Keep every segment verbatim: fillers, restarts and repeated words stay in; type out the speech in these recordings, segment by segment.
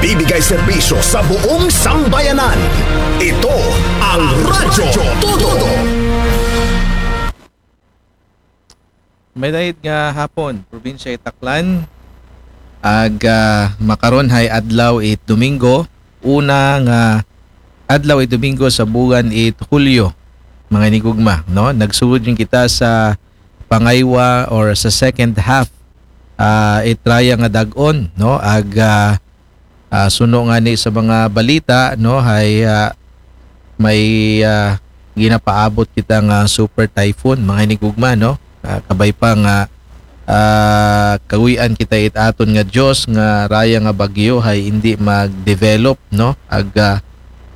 Bibigay serbisyo sa buong sambayanan. Ito ang Radyo Todo. May dayeg nga hapon, probinsya it Aklan. Ag ah, makaron hay adlaw it Domingo, una nga adlaw it Domingo sa buwan it Hulyo, mga inigugma, no? Nagsugod gyud kita sa pangaywa or sa second half ah, it raya nga dag-on, no? Ag ah, ah, suno ngani sa mga balita, no, hay ah, may ah, ginapaabot kita nga super typhoon, mga inigugma, no? Ah, kabay pa nga ah, kaguy-an kita it aton nga Dios nga raya nga bagyo hay indi mag-develop, no? Ag ah,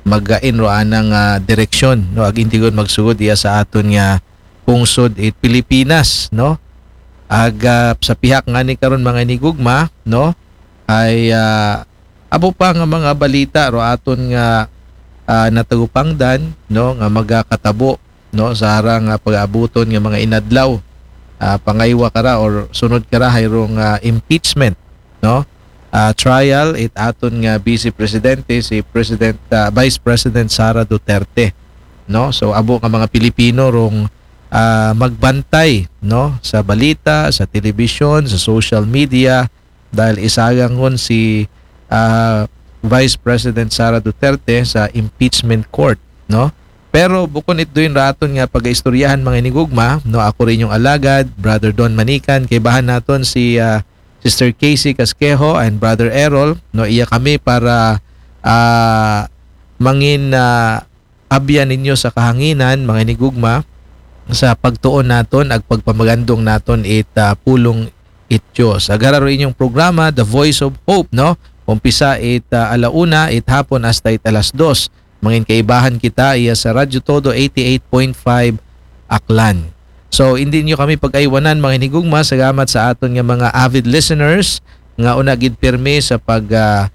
magain ro anang ah, direksyon, no? Ag indi gud magsugod iya sa aton nga pungsod it Pilipinas, no? Ag ah, sa pihak ngani karon, mga inigugma, no? Ay ah, abo pa nga mga balita ro aton nga ah, natagupangdan, no, nga magakatabo, no, sa harang nga pag-aabuton nga mga inadlaw. Ah, pangaywa kara or sunod kara hay rong ah, impeachment, no? Ah, trial it aton nga Vice Presidente, si President ah, Vice President Sara Duterte, no? So abo nga mga Pilipino rong ah, magbantay, no, sa balita, sa telebisyon, sa social media, dahil isagangon si ah, Vice President Sara Duterte sa impeachment court, no? Pero bukon it duin ra aton nga pagaistoryahan, mga inigugma, no, ako rin yung alagad, Brother Don Manikan, kaibahan naton si ah, Sister Casey Casquejo and Brother Errol, no, iya kami para ah, mangin ah, abyan ninyo sa kahanginan, mga inigugma, sa pagtuon naton ag pagpamagandong naton it ah, pulong it Dios. Agara ro inyong programa, The Voice of Hope, no? Umpisa it ah, alauna it hapon hasta it alas dos. Mangin kaibahan kita iya sa Radyo Todo eighty-eight point five Aklan. So, hindi nyo kami pag-aywanan, mga inigugma. Salamat sa aton nga mga avid listeners nga una gid pirmi sa pag ah,